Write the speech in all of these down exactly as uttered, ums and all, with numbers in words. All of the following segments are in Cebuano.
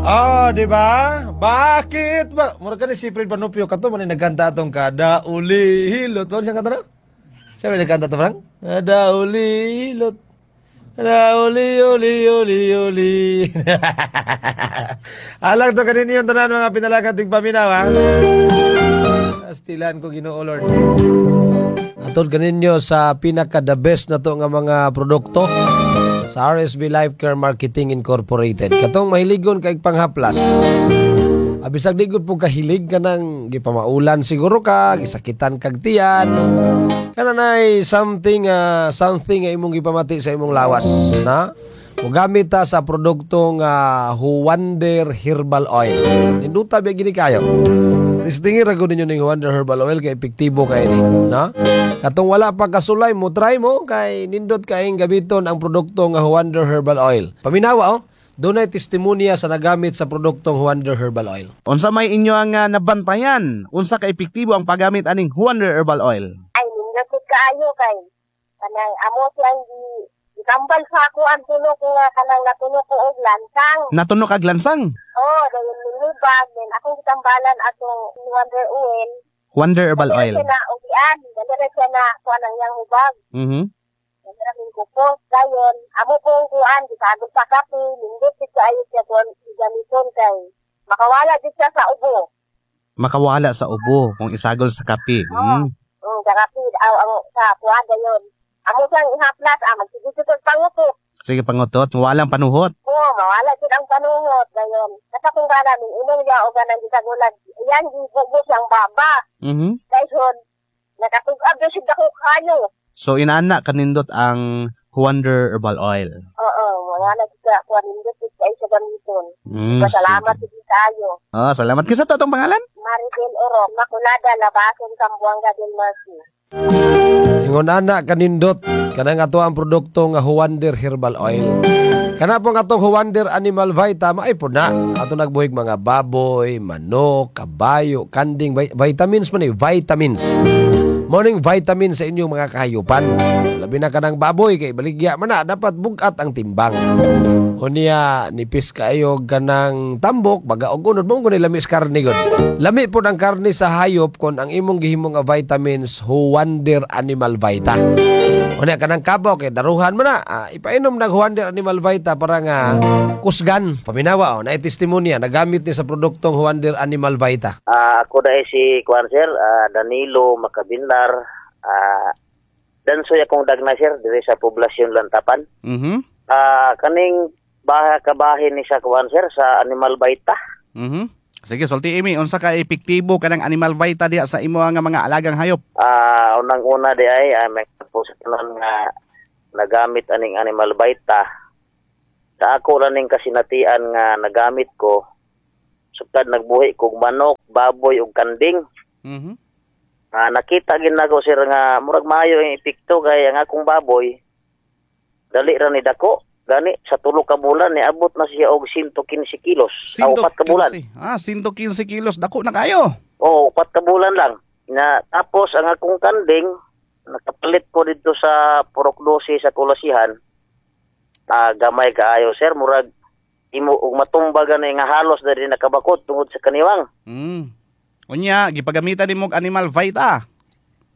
Ah, di ba? Bakit ba? Mura ka ni si Fred Panopio kato man ni nagkanta atong kada uli hilot. Ano siya kanta na? Siya may nagkanta to, Frank? Kada uli hilot. Kada uli uli uli uli. Alang to kaninyo yung tanan, mga pinalagang tigpaminaw, ha? Astilan ko, Ginoo Lord. Atod kaninyo sa pinaka the best na to nga mga produkto sa R S B Life Care Marketing Incorporated. Katong mahiligon kay panghaplas. Abisag di gud po kahilig ka ng gipamaulan siguro ka, gisakitan kag tiyan. Kana nay something ah, something nga imong gipamati sa imong lawas, na? Mugamit ta sa produktong uh, Huwander Herbal Oil. Ninduta ba gini kayo? Testingin ra gud ninyo ning Huwander Herbal Oil kay epektibo kay ni, no? Katong wala pa kasulay mo, try mo kay nindot kaayong gamiton ang produkto nga Huwander Herbal Oil. Paminawa, oh. Dunay testimonya sa nagamit sa produktong Huwander Herbal Oil. Unsa may inyo ang ah, nabantayan? Unsa ka epektibo ang paggamit aning Huwander Herbal Oil? Ay, nindot gud kaayo kay kanang amo siyang gi gitambal sa ako ang tunok nga kanang natunok ko og lansang. Natuno kag lansang. Oh, dayon nilubag then akong gitambalan atong Wonder Oil. Huwander Herbal Dali ra Oil. siya na ugian, dali ra siya na kuan ang iyang hubag. Mhm. Dali ra min kupos dayon amo pong kuan gisagol sa kape, nindot gid kaayo siya kuan gamiton kay makawala gid siya sa ubo. Makawala sa ubo kung isagol sa kape. Mm. Mm, sa kape aw ang sa kuan dayon. Amo siyang ihaplas, ah, magsige kog pangutot. Sige pangutot, walang panuhot. Oo, mawala jud ang panuhot dayon. Nasa kung gana min inom niya og ganang gisagulan. Iyan gibugo siyang baba. Mhm. Dayon nakatug-ab na siya dako kayo. So inana kanindot ang Huwander Herbal Oil. Oo, wala na jud ka kuan, nindot jud kaayo siya gamiton. Mm, Pasalamat sige. jud kaayo. Oh, salamat. Kinsa to atong pangalan? Maribel Oro, Makulada, Labason, Zamboanga del Norte. Ingon ana kanindot kanang ato ang produkto nga Huwander Herbal Oil. Kana pong atong Huwander Animal Vita maay po na. Ato nagbuhig mga baboy, manok, kabayo, kanding, vi- vitamins man eh, vitamins. Morning vitamin sa inyong mga kahayupan. Labi na kanang baboy kay baligya man na, dapat bugat ang timbang. Unya nipis kaayo kanang tambok baga og unod mo kung lami sa karne gud. Lami pod ang karne sa hayop kon ang imong gihimo nga vitamins Huwander Animal Vita. Unya kanang kabaw kay daruhan mo na, ah, ipainom nag Huwander Animal Vita para nga kusgan. Paminawa, oh, na testimonya nagamit ni sa produktong Huwander Animal Vita. Ah, ako dahil si Kuan sir, ah, Danilo Macabinlar, ah, dansoy akong dagna, sir, diri sa poblasyon Lantapan. Mhm. Ah, kaning baha kabahin ni sa Kuan, sir, sa Animal Vita. Mhm. Sige, sulti imi, unsa ka epektibo kanang Animal Vita diha sa imo nga mga alagang hayop? Ah, unang-una di ay ah, may po sa tanan nga nagamit aning Animal Vita. Sa ako ra ning kasinatian nga nagamit ko, sukad nagbuhi kog manok, baboy ug kanding. Mhm. Ah, nakita gid nako, sir, nga murag maayo ang epekto kay ang akong baboy dali ra ni dako gani sa tulo ka bulan niabot na siya og one hundred fifteen kilos. Ah, upat ka bulan. one hundred fifteen. Ah, one hundred fifteen kilos. Dako na kayo. Oo, upat ka bulan lang. Na tapos ang akong kanding nakapalit ko dito sa Purok dose sa Kulasihan. Ah, gamay kaayo, sir, murag imo og matumba gani nga halos diri nakabakod tungod sa kaniwang. Mm. Unya, gipagamitan nimo og Animal Vita.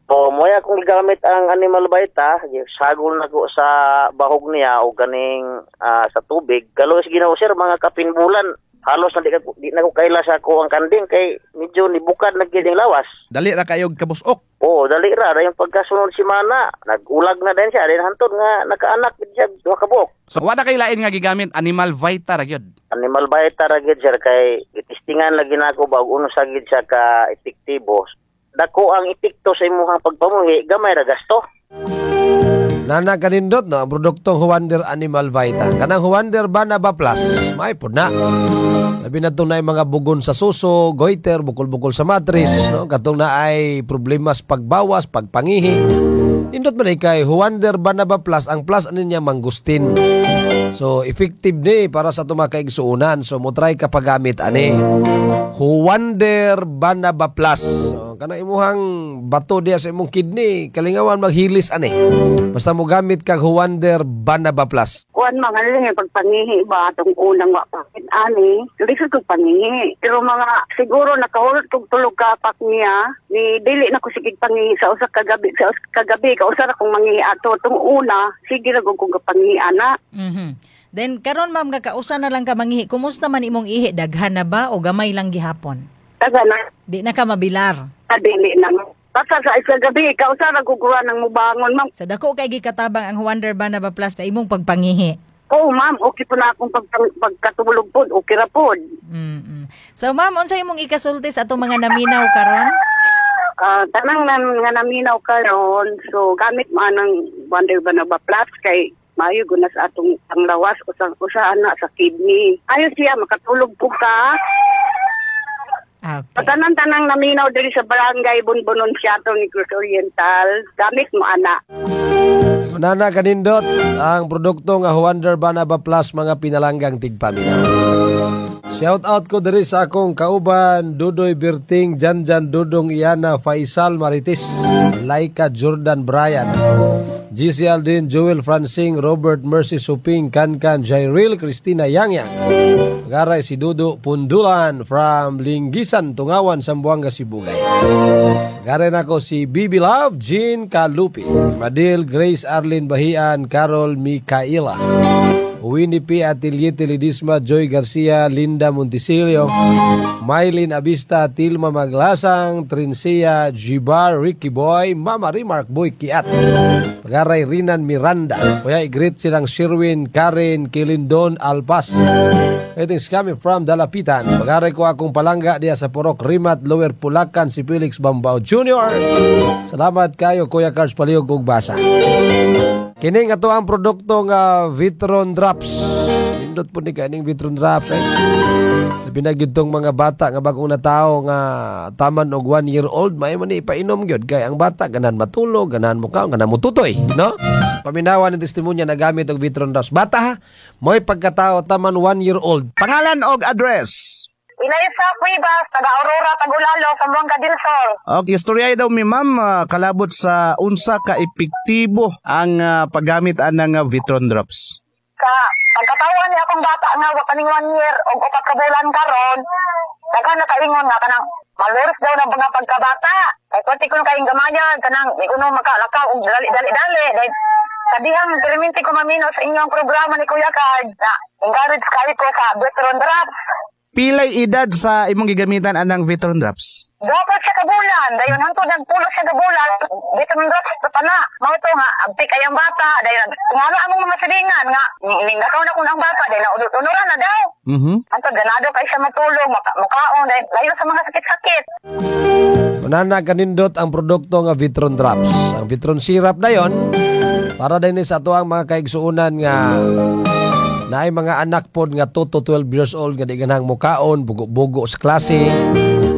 O, moya akong gigamit ang Animal Vita, sagol na ko sa bahog niya o ganing ah, sa tubig. Galos Ginoo, sir, mga kapin bulan, halos na di, ka, di na ko kaila sa ako ang kanding kay medyo nibukad na gyud ang lawas. Dali ra kayo kabusok. Oo, dali ra. Dayon pagkasunod simana, nagulag na din siya. Dayon hantod nga nakaanak gid siya duha ka buok. So wala kay lain nga gigamit, Animal Vita ra gyud. Animal Vita ra gid, sir, kay gitistingan lagi nako ba og uno sa gid siya ka epektibo. Dako ang epekto sa imong pagpamuhi, gamay ra gasto. Nana kanindot no ang produktong Huwander Animal Vita. Kanang Huwander Banaba Plus, may pod na. Labi na itong naay mga bugon sa suso, goiter, bukol-bukol sa matris, no? Katong na ay problema sa pagbawas, pagpangihi. Nindot man eh kay Huwander Banaba Plus, ang plus ano niya mangustin. So effective ni para sa itong mga kaigsuunan. So mo try ka paggamit ani. Huwander Banaba Plus. So, Kanang imuhang bato diya sa imong kidney, kalingawan maghilis ani. Basta mo gamit kag Huwander Banaba Plus. Kuan mga lang pagpangihi ba atong unang wa pa ani lisod kog pangihi pero mga siguro nakahulot kog tulog ka pak niya ni dili na ko sige pangihi sa usa ka gabi sa usa ka gabi kausa ra kong mangihi ato tong una sige ra kog kong pangihi ana. Mhm. Then karon, ma'am, nga kausa na lang ka mangihi, kumusta man imong ihi, daghan na ba o gamay lang gihapon? Taga na. Di na ka mabilar? Ah, dili na. Basta sa isa gabi kausa ra kog ng mubangon, ma'am. So dako kay gikatabang ang Wonder Banaba Plus sa imong pagpangihi. Oo, ma'am, okay po na akong pag, pagkatulog po, okay ra pod. Mm. So ma'am, unsa imong ikasulti sa atong mga naminaw karon? Ah, tanang nan, nga naminaw karon, so gamit mo anang Wonder Banaba Plus kay maayo guna sa atong panglawas usa usa ana sa kidney. Ayo siya makatulog po ka. Okay. Tanan-tanang naminaw diri sa barangay Bonbonon Siato ni Cruz Oriental, gamit mo ana. Nana kanindot ang produkto nga Wonder Banaba Plus, mga pinalanggang tigpaminaw. Shout out ko diri sa akong kauban Dudoy Berting, Janjan Dudong Iana, Faisal Maritis, Laika Jordan Bryan, G C Aldin, Joel Francing, Robert Mercy Suping, Kankan Jairil, Christina Yangyang. Pagaray si Dudo Pundulan from Linggisan, Tungawan, Zamboanga, Sibugay. Pagaray nako si Bibi Love, Jean Kalupi, Madil Grace Arlene Bahian, Carol Micaela, Winnie P. Atelier Teledisma, Joy Garcia, Linda Montisilio, Mylene Abista, Tilma Maglasang, Trincia, Jibar, Ricky Boy, Mama Remark Boy Kiat, Pagaray Rinan Miranda, Kuya i-greet silang Sherwin, Karen, Kilindon, Alpas. Greetings coming from Dalapitan. Pagaray ko akong palangga diya sa Purok Rimat, Lower Pulacan, si Felix Bambao Junior Salamat kayo, Kuya Cards Palihog ug basa. Kining ato ang produkto nga Vitron Drops. Nindot po ni kaning Vitron Drops eh. Labi na gyud tong mga bata nga bagong natao nga taman og one year old, may man ni ipainom gyud kay ang bata ganahan matulog, ganahan mo kaon, ganahan mo tutoy, no? Paminawan ng testimonya na gamit og Vitron Drops. Bata ha, mo'y pagkatao taman one year old. Pangalan og address. Inaisa Cuevas, taga Aurora, Tagulalo, Zamboanga del Sur. Okay, istorya daw mi, ma'am, ah, kalabot sa unsa ka epektibo ang ah, paggamit anang ah, Vitron Drops. Sa pagkatawan ni akong bata nga wa kaning one year og upat ka bulan karon, daghan na kaingon nga kanang malnourished daw ng mga pagkabata. Kay pati ko kayong gamayan kanang di ko no makalakaw og dali dali dali. Dahil kadihang perminti ko mamino sa inyong programa ni Kuya Card na encourage kayo ko sa Vitron Drops. Pilay edad sa imong gigamitan anang Vitron Drops? Dapat siya kabulan, dayon hangtod nagpulo siya kabulan, Vitron Drops pa na. Mao to nga abtik ay ang bata, dayon ngano among mga silingan nga nindakaw na kun ang bata, dayon naunod-unuran na daw. Mhm. Hangtod ganado kay siya matulog, maka, mukaon, dayon layo sa mga sakit-sakit. Kunana kanindot ang produkto nga Vitron Drops. Ang Vitron Syrup na yon para din sa ato ang mga kaigsuunan nga naay mga anak pod nga two to twelve years old nga di ganahang mukaon, bugo-bugo sa klase,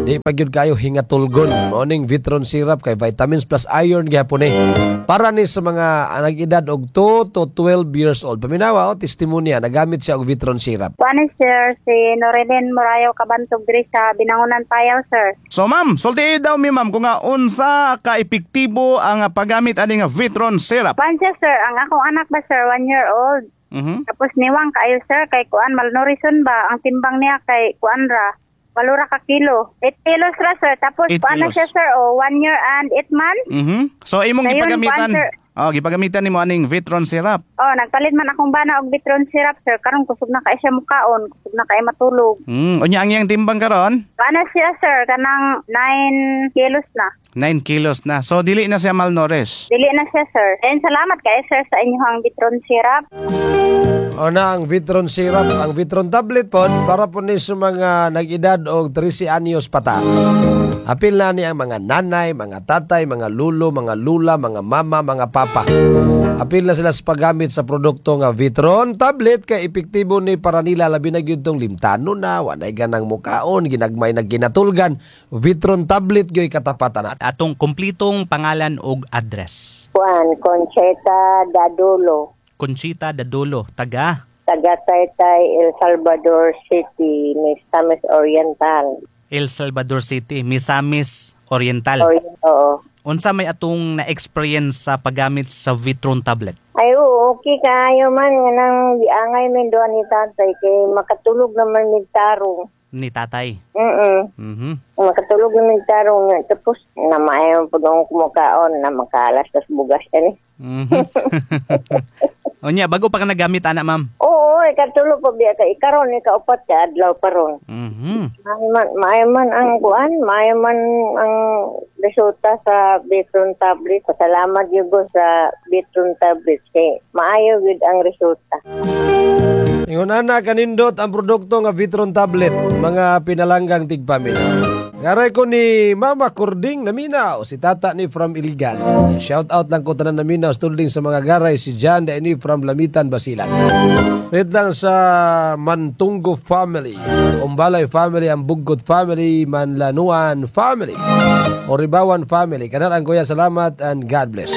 di pa gyud kayo hingatulgon. Mao ning Vitron Syrup kay vitamins plus iron gihapon eh. Para ni sa mga nag-edad og two to twelve years old. Paminawa o testimonya nagamit siya og Vitron Syrup. Kuan, sir, si Norilyn Morayo Kabantog diri sa Binangonan Payaw, sir. So ma'am, sulti daw mi, ma'am, kung nga unsa ka epektibo ang ah, paggamit ani nga Vitron Syrup. Kuan siya, sir, ang akong anak ba, sir, one year old. Mhm. Tapos niwang kaayo, sir, kay kuan malnourished ba ang timbang niya kay kuan ra. Walo ra ka kilo. eight kilos ra, sir. Tapos Eight kuan na kilos. siya, sir, oh, one year and eight months. Mhm. So imong Dayon, gipagamitan. kuan, sir. Oh, gipagamitan nimo aning Vitron Syrup. Oh, nagpalit man akong bana og Vitron Syrup, sir. Karon kusog na kay siya mukaon, kusog na kay matulog. Mm, unya ang iyang timbang karon? Kuan na siya, sir, kanang nine kilos na. nine kilos na. So dili na siya malnourished. Dili na siya, sir. And salamat kay sir sa inyong Vitron Syrup. O na ang Vitron Syrup, ang Vitron Tablet pod para po ni sa mga nag-edad og thirteen anyos pataas. Apil na ni ang mga nanay, mga tatay, mga lulo, mga lula, mga mama, mga papa. Apil na sila sa paggamit sa produkto nga Vitron Tablet kay epektibo ni para nila labi na gyud tong limtano na, walay ganang mukaon, ginagmay na ginatulgan. Vitron Tablet gyud katapatan na. Atong kumplitong pangalan og address. Juan Concheta Dadulo, Conchita Dadulo, taga taga Taytay, El Salvador City, Misamis Oriental. El Salvador City, Misamis Oriental. Oo, oo. Unsa may atong na-experience sa paggamit sa Vitron tablet? Ay, oo, okay kaayo man. Nga nang giangay min doon ni tatay. Kay makatulog naman mig tarong. Ni tatay. Mm-mm. Mhm. Makatulog naman tarong. Tapos, na maayo po doon kumukaon na makalas tas bugas. Ani. Mhm. Unya, bago pa ka nagamit ana, ma'am. Oo, ikatulo pa biya ka. Ikaron, ikaupat ka, adlaw pa ron. Mhm. Maayo man, maayo man ang kuan, maayo man ang resulta sa Bitron tablet. Pasalamat gyud ko sa Bitron tablet kay maayo gyud ang resulta. Ingon ana kanindot ang produkto nga Vitron tablet, mga pinalanggang tigpaminaw. Garay ko ni Mama Kording Naminaw, si tata ni from Iligan. Shout out lang ko tanan naminaw, tulding sa mga garay, si John Daini from Lamitan, Basilan. Rit lang sa Mantunggo family, Umbalay family, ang Buggot family, Manlanuan family, Oribawan family. Kanal ang kuya, salamat and God bless.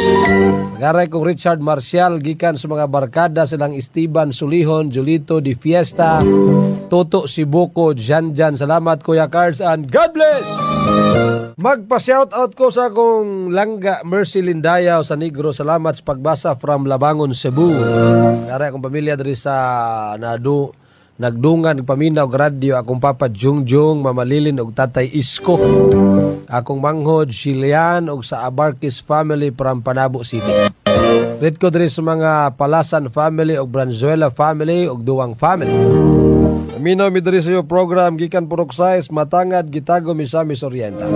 Garay kong Richard Marcial, gikan sa mga barkada silang Esteban Sulihon, Julito Di Fiesta, Toto Sibuko, Jan Jan. Salamat Kuya Cards and God bless! Magpa-shout out ko sa akong langga Mercy Lindayaw sa Negro. Salamat sa pagbasa from Labangon, Cebu. Garay akong pamilya diri sa nadu nagdungan paminaw og radyo akong papa Jungjung, Mama Lilin ug Tatay Isko. Akong manghod Gillian ug sa Abarquez family from Panabo City. Rit ko diri sa mga Palasan family ug Branzuela family ug Duwang family. Minaw mi diri sa iyo program gikan Purok Sais, Matangad, Gitago, Misamis Oriental.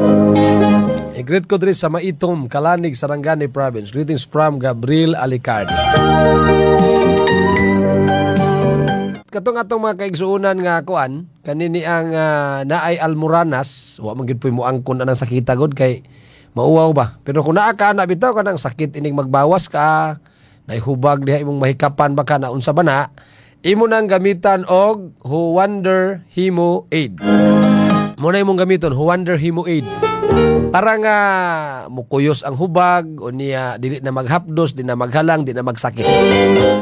I-greet ko diri sa Maitum, Kalanig, Sarangani Province. Greetings from Gabriel Alicardi. Katong atong mga kaigsuonan nga kuan, kanini ang uh, naay almoranas, wa man gyud poy moangkon anang sakita gud kay mauwaw ba. Pero kung naa ka na bitaw kanang sakit inig magbawas ka, naihubag diha imong mahikapan ba ka na unsa ba na, imo nang gamitan og Huwander Hemo Aid. Mo na imong gamiton Huwander Hemo Aid. Para nga mukuyos ang hubag o niya dili na maghapdos, di na maghalang, di na magsakit.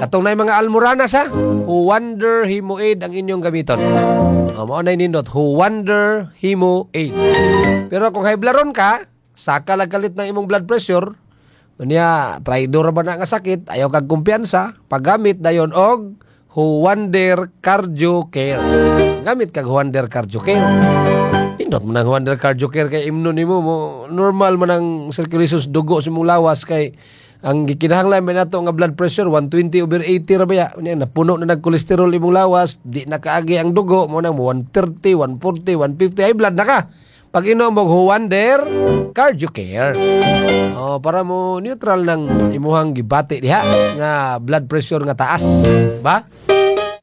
Katong na mga almoranas ha, Huwander Hemo Aid ang inyong gamiton. O, mao na nindot, Huwander Hemo Aid. Pero kung haiblaron ka, saka lang kalit ng imong blood pressure, o niya traidor ba na nga sakit, ayaw kag kumpiyansa, paggamit dayon og Huwander Cardio Care. Gamit kag Huwander Cardio Care. Pindot mo nang Huwander Cardio Care kay imno nimo mo normal man ang circulation sa dugo sa imong lawas kay ang gikinahanglan man nato nga blood pressure one twenty over eighty ra ba ya. Unya napuno na nag-cholesterol imong lawas, di na kaagi ang dugo mo nang one thirty, one forty, one fifty ay blood na ka. Pag inom mo Huwander Cardio Care. Oh, para mo neutral ng imuhang gibati diha nga blood pressure nga taas, ba?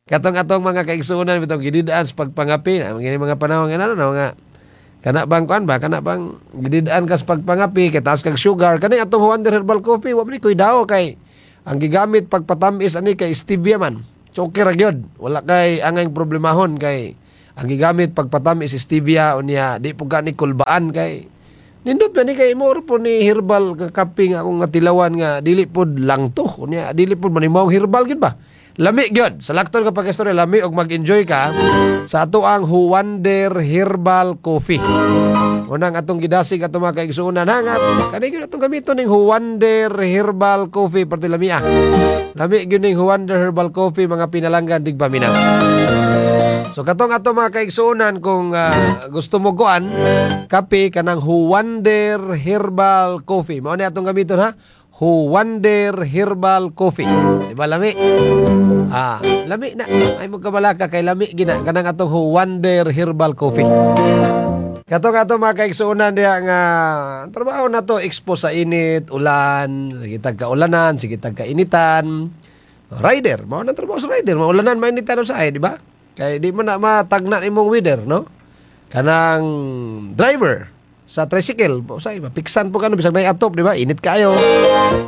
Katong atong mga kaigsuonan bitong gididaan sa pagpangapi, ang mga panahon nga ano mga kana bang kuan ba, kana bang gididaan ka sa pagpangapi kay taas kag sugar, kani atong Huwander Herbal Coffee wa man ni kuidao kay ang gigamit pagpatamis ani kay stevia man. So okay ra gyud, wala kay angay problemahon kay ang gigamit pagpatamis stevia unya di pud ka ni kulbaan kay nindot ba ni kay imo po ni herbal kape nga akong natilawan nga dili pod lang to unya dili pod manimaw herbal gid ba. Lami gyud sa lakton ka pag-istorya, lami og mag-enjoy ka sa ato ang Huwander Herbal Coffee. Unang atong gidasig atong mga kaigsuonan nga kani gyud atong gamiton ning Huwander Herbal Coffee perti lami ah. Lami gyud ning Huwander Herbal Coffee mga pinalanggan tigpaminaw. So katong ato mga kaigsuonan kung uh, gusto mo kuan kape kanang Huwander Herbal Coffee. Mao ni atong gamiton ha. Huwander Herbal Coffee. Di ba lami? Ah, lami na. Ay mo kabalaka kay lami gina kanang atong Huwander Herbal Coffee. Katong ato mga kaigsuonan diha nga trabaho na to expose sa init, ulan, sige tag kaulanan, sige tag kainitan. Rider, mao na trabaho sa rider, maulanan mainitan usahay, di ba? Kay di mo na matagna imong weather, no? Kanang driver sa tricycle, usay mapiksan po kano bisag nay atop, di ba? Init kaayo.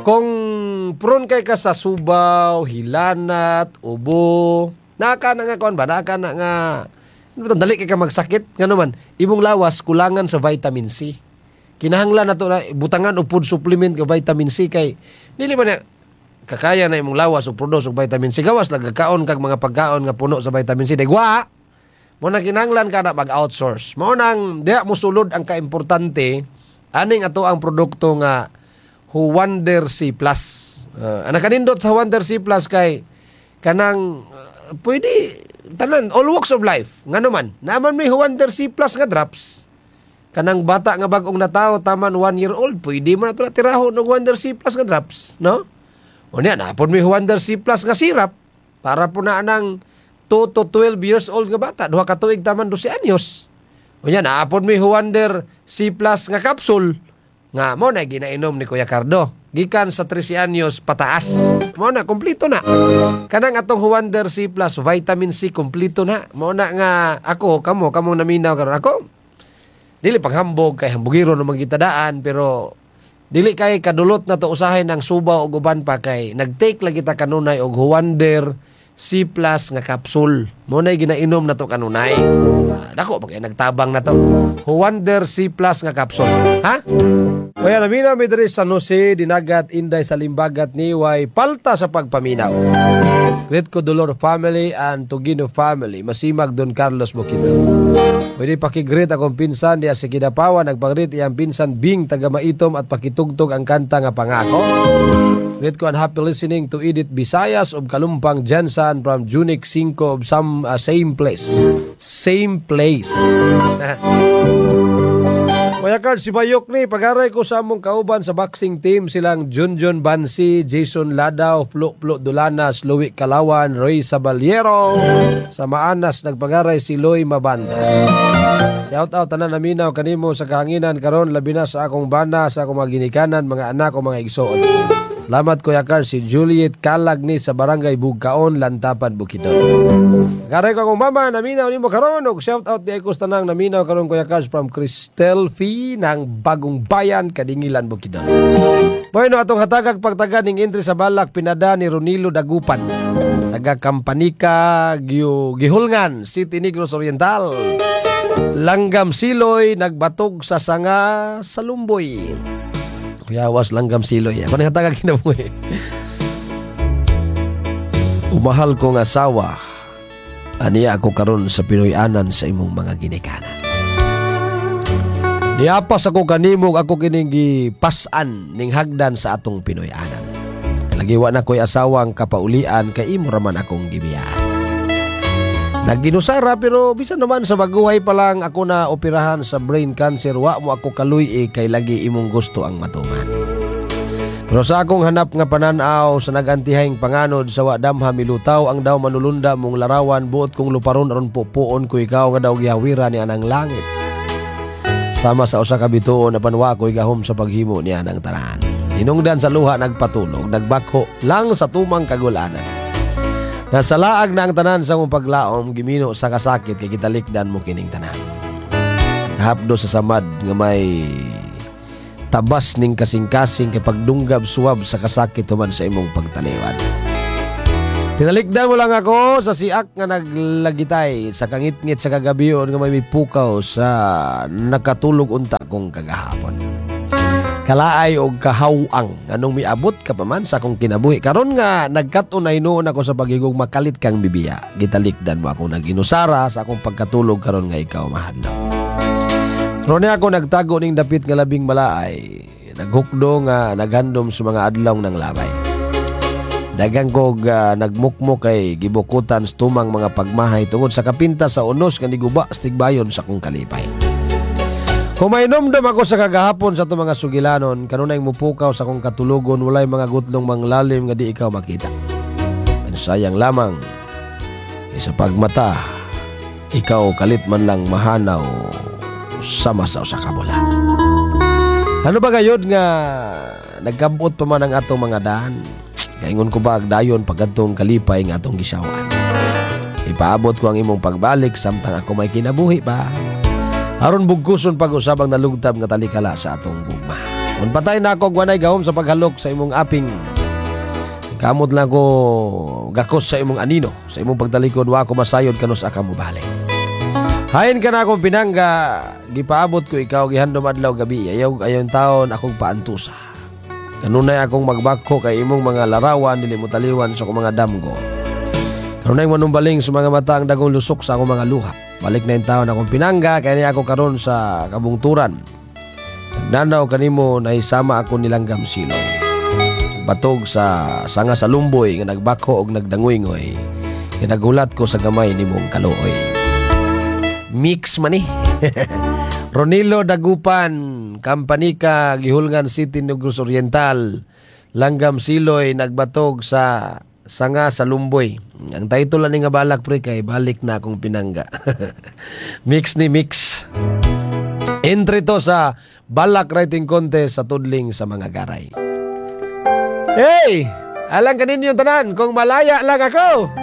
Kung prone kay ka sa subaw, hilanat, ubo, naka na nga kuan ba? Naka na nga dali kay ka magsakit ngano man imong lawas kulangan sa vitamin C. Kinahanglan nato na butangan og food supplement ka vitamin C kay dili man na kakaya na imong lawas og produce og vitamin C. Gawas lang kakaon kag mga pagkaon nga puno sa vitamin C. Dagwa. Mo na kinahanglan ka na mag-outsource. Mo nang diha mosulod ang kaimportante aning ato ang produkto nga Huwander C plus. Uh, ang nakanindot sa Huwander C Plus kay kanang uh, pwede tanan, all walks of life. Ngano man, naman may Huwander C Plus nga drops. Kanang bata nga bag-ong natawo, taman one year old, pwede mo na ito tirahon og Huwander C Plus nga drops, no? Unya, napon may Huwander C Plus nga syrup para po na anang two to twelve years old nga bata, duha ka tuig taman dose anyos. Unya, naapon may Huwander C Plus nga capsule nga mo na ginainom ni Kuya Cardo gikan sa trese anyos pataas. Mo na kompleto na. Kanang atong Huwander C Plus vitamin C, kompleto na. Mo na nga ako, kamo kamo naminaw karon, ako dili paghambog kay hambugiro no kita daan, pero dili kay kadulot na to usahay ng suba og uban pa kay nagtake lang kita kanunay og Huwander C Plus nga capsule. Mo na ginainom na to kanunay. Ah, dako pa kay nagtabang na to. Huwander C Plus nga capsule. Ha? Kaya naminaw mi diri sa Jose, Dinagat, Inday sa Limbagat ni way palta sa pagpaminaw. Greet ko Dolor family and Tugino family. Masimag Don Carlos Bukidnon. Pwede pakigreet akong pinsan diya sa Kidapawan. Nagpag-greet iyang pinsan Bing taga Maitom at pakitugtog ang kanta nga "Pangako". Greet ko and happy listening to Edith Visayas of Kalumpang Jensan from Junic five of some uh, same place. Same place. Kuya Carl, si Bayok ni, pagaray ko sa among kauban sa boxing team, silang Junjun Bansi, Jason Ladaw, Flo Flo Dulanas, Louis Kalawan, Roy Sabaliero. Sa Maanas, nagpagaray si Loy Mabanda. Shout out tanan naminaw kanimo sa kahanginan karon, labi na sa akong bana, sa akong mga ginikanan, mga anak o mga igsoon. Salamat, Kuya Carl, si Juliet Kalag ni sa Barangay Bugkaon, Lantapan, Bukidnon. Garay ko akong mama, naminaw nimo karon og shout out di ko sa tanang naminaw karon, Kuya Carl, from Cristel Fee ng Bagong Bayan, Kadingilan, Bukidnon. Bueno, atong hatagag pagtaga ning entry sa balak pinada ni Ronilo Dagupan. Taga Kampanika, Giu, Gihulngan, City, Negros Oriental. Langgam Siloy nagbatog sa sanga sa lumboy. Kuyawas langgam siloy. Ako nang hatagag kinabuhi. Umahal kong asawa, aniya ako karon sa Pinoy-anan sa imong mga ginikanan. Niapas ako kanimo, ako kining gipas-an ning hagdan sa atong Pinoy-anan. Lagi wa na ko'y asawang kapaulian kay imo raman akong gibiyaan. Nagginusara pero bisan naman sa baguhay pa lang ako na operahan sa brain cancer, wa mo ako kaluy kay lagi imong gusto ang matuman. Pero sa akong hanap nga pananaw sa nagantihayng panganod sa wa damha milutaw ang daw manulunda mong larawan, buot kong luparon aron pupuon ko ikaw nga daw gihawira ni anang langit. Sama sa usa ka bituon apan wa ko'y gahom sa paghimo ni anang tanan. Hinungdan sa luha nagpatulog, nagbakho lang sa tumang kagulanan. Nasalaag na ang tanan sa mong paglaom, gimino sa kasakit kay gitalikdan mo kining tanan. Kahapdo sa samad nga may tabas ning kasing-kasing kay pagdunggab suwab sa kasakit human sa imong pagtaliwan. Tinalikdan mo lang ako sa siak nga naglagitay sa kangitngit sa kagabion nga may mipukaw sa nakatulog unta kong kagahapon. Kalaay og kahawang anong miabot ka pa man sa akong kinabuhi karon nga nagkat-on na hinuon ako sa pagigong makalit kang bibiya, gitalikdan mo ako, naginusara sa akong pagkatulog karon nga ikaw mahadlok. Ron ako nagtago ning dapit nga labing malaay, naghukdo nga naghandom sa mga adlaw ng labay. Dagang kog uh, nagmukmok kay gibukutan sa tumang mga pagmahay tungod sa kapinta sa unos nga niguba sa tigbayon sa akong kalipay. Kumainomdom ako sa kagahapon sa itong mga sugilanon, kanunay mupukaw sa akong katulogon, walay mga gutlong manglalim nga di ikaw makita. Pero sayang lamang, sa pagmata, ikaw kalit man lang mahanaw sama sa usa ka bula. Ano ba gayod nga nagkabot pa man ang atong mga daan? Kaingon ko ba dayon pagkadtong kalipay nga atong gisawan? Ipaabot ko ang imong pagbalik samtang ako may kinabuhi pa. Aron bugkuson pag-usab ang nalugtab nga talikala sa atong gugma. Kung patay na ako, wanay gahom sa paghalok sa imong aping. Kamot lang ko gakos sa imong anino. Sa imong pagtalikod, wa ako masayod kanus aka mo balik. Hain ka na akong pinangga, gipaabot ko ikaw gihandom adlaw gabi. Ayaw ayaw taon akong paantusa. Kanunay akong magbakho kay imong mga larawan dili mo taliwan sa akong mga damgo. Kanunay manumbaling sa mga mata ang dagong lusok sa akong mga luha. Balik na intawon akong pinangga kaya niya ako karon sa kabungturan. Nanaw kanimo nahisama ako nilanggam siloy. Batog sa sanga sa lumboy nga nagbakho og nagdangoy-ngoy. Kaya nagulat ko sa gamay nimong kaluoy. Mix man eh. Ronilo Dagupan, Kampanika, Guihulngan City, Negros Oriental. Langgam Siloy nagbatog sa sanga sa lumboy. Ang title lang ni nga balak, pre, kay "Balik na akong pinangga." Mix ni mix. Entry to sa Balak Writing Contest sa Tudling sa mga garay. Hey! Alang kaninyo tanan, "Kung Malaya Lang Ako."